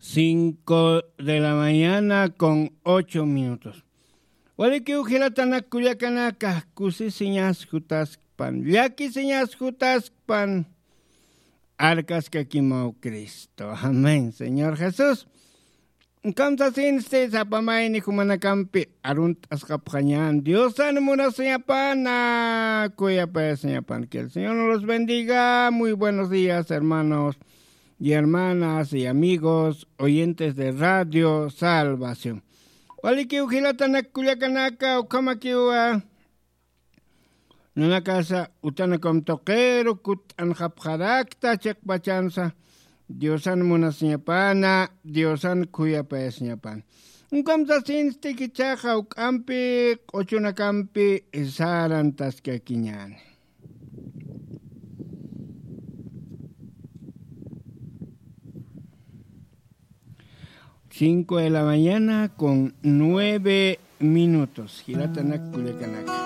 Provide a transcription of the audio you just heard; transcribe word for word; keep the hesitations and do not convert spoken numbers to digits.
Cinco de la mañana con ocho minutos. Walikiw jilatanak kullakanaka, kusisiñas jutaskpan, llakisiñas jutaskpan, arkaskakimaw Cristo. Amén, Señor Jesús. Kamsasinsti sapamayni jumanakampi arunt'asqapxañan Diosan munasiñapana, kuyapayasiñapana. Que el Señor nos los bendiga. Muy buenos días, hermanos y hermanas y amigos oyentes de Radio Salvación. Walikiw jilatanak kullakanaka, ukhamakiwa. Nanakasa utanakum tuqiru kutt'anxapxarakta chiqpachansa, Diosan munasiñapana, Diosan khuyapayasiñapana. Ukham sasinsti kichaxa juk'ampi, q'uchunakampi sarantaskakiñäni. Cinco de la mañana con nueve minutos. Jilatanak kullakanaka.